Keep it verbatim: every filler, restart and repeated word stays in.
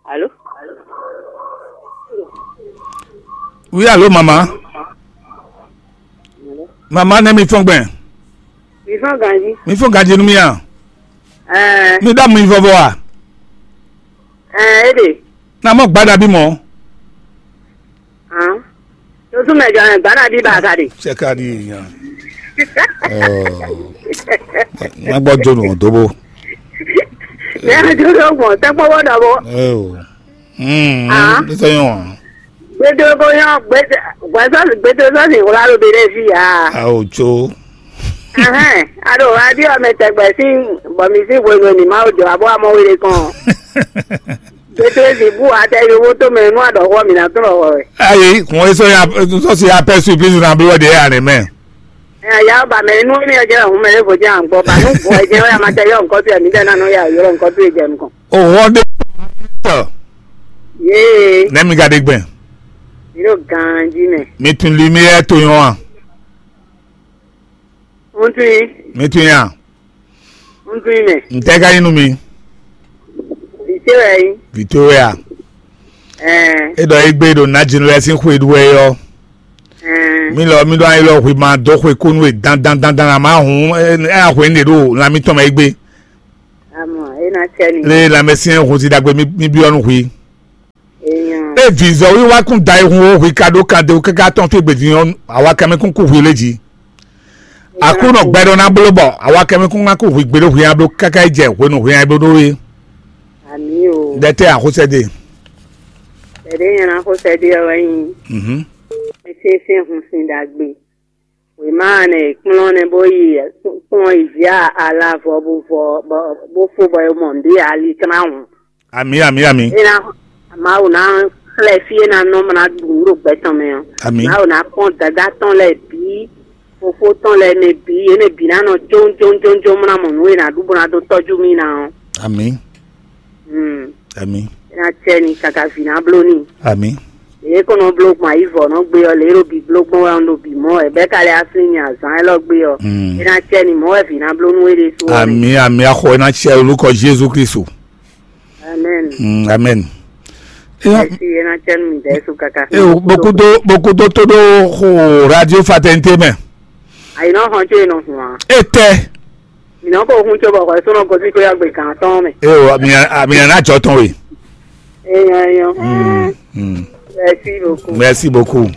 Alo? Oui, allô, maman. Maman, ne mi fɔn gbɛn. Mi fɔn ganji. Mi fɔn ganji nu mi a? Ɛɛ. Mi da mi vɔvɔ a? Ɛɛ, e de. Na mɔ gbada bi mɔ. Hàn. Tó tún mɛ jɔ ɛ gbada bi ba ka de. Sɛ ka di yan. Ɔ. Ma gbɔ jo nu dobo. Ne a jo do gbɔn tɛ kpɔ bɔ dɔ bɔ. Ɛ o. Hmm. Ah. Ní sɛ yɔn. Gbedogbo yɔn gbede gbɛsɔsi gbedosɔsi wla lo be ɖe fi ya. A o tso. Ɛhɛn, a ɖo radio mɛ tɛgbɛ sín bɔ mi sín hwenu e mǐ ma wo jɔ abɔ amɔ wele kɔn. Gbedosɔsi bu atɛ yovo to mɛ nú aɖɔxɔ mi ná tlɔ xɔ wɛ. Ayi, kún e sɔ ya sɔsi apɛ surprise na bi wɛ de ya ne mɛ. Ɛ ya ba mɛ nú mi jɛ hun mɛ ne vo jɛ an gbɔ ba nú bɔ jɛ ya ma tɛ yɔ nkɔ tu ya mi dɛ na nɔ ya yɔ nkɔ tu jɛ nukɔn. O hɔ de tɔ. Yee. Ne mi ga de gbɛn. Mi ɖo ganji mɛ. Mi tun lumière to yɔn a? Ŋutui. Mi tun ya. Ŋutui mɛ. N tɛ ka yin nu mi. Vite wɛ yi. Victoria. Ɛɛ. E dɔ egbe ɖo najinu lɛ sin xwe ɖu wɛ yɔ. Ɛɛ. Mi lɔ mi ɖo anyi lɔ xwe ma dɔ xwe konu e dan dan dan dan a ma hun ɛ ɛ a xwe ne ɖo lan mi tɔn mɛ egbe. Amɔ e na cɛ ni. Le lanmɛsyɛn hun si ɖagbe mi mi byɔ nu xwi. Eyan. E vǐzɔ́ wiwa kún da e hun o hwi ka ɖó kan de káká tɔn fí gbedin ɔ́, awa kɛmɛ kún kú hwi lé jí. Aklúnɔ gbɛɖɔ ná bló bɔ awa kɛmɛ kún ná kú hwi gbeɖé hwi nya bló káká yi jɛ hwenu hwi nya bló ɖó é. Ami o. Ɖɛtɛ axosɛ de. Tɛɖe nyɛ na xo sɛ de ɔwɛ nyi. Mhm. Ese se hun sin ɖagbe. Wěma nɛ kplɔ́n nɛ bó yi kplɔ́n yi vǐ alavɔ bó vɔ bó fó bɔ é mɔ nǔɖé ali kplán hǔn. Amǐ, amǐ, amǐ. É ná Mawu ná xlɛ́ fí é ná nɔ mɔ ná ɖu nǔ ɖo gbɛ tɔn mɛ ɔ́. Amǐ. Mawu ná kpɔ́n dadá tɔn lɛ́ɛ bǐ, fofó tɔn lɛ́ɛ mɛ bǐ, yě mɛ bǐ ná nɔ jónjónjónjó mɔ ná mɔ nǔ e ná ɖu bó ná dó tɔ́jú mì ná ɔ́. Amǐ. Hmm. Amǐ. É ná cɛ ni kaka vǐ ná bló n'i. Amǐ. Lě e kɔn nɔ bló gbɔn ayǐ vɔ nɔ gbé ɔ́, lě e ɖo bǐ bló gbɔn wɛ un ɖo bǐ mɔ wɛ bɛ́ ka lɛ́ asú nyi azǎn élɔ́ gbé ɔ́. Mm. É ná cɛ ni mɔ̌ wɛ vǐ ná bló nú é ɖésú ɔ́. Amǐ, amǐ, axɔ é ná cɛ lórúkọ Jésù Kristu. Amɛn. Mm, amɛn. Mɛsi é ná cɛ nú mi dɛ̌ su kaka. E o, bokudo bokudo tó ɖó xo radio fraternité mɛ. Ayi nɔ xɔn tso e nɔ hun a. Etɛ. Mi nɔ ko hun tso bɔ xɔ e sɔnɔ gosi ko ya gbe kan tɔn mɛ. E o, mi a mi a na jɔ tɔn we. Eyan eyan. Mm, mm. Merci beaucoup. Merci beaucoup.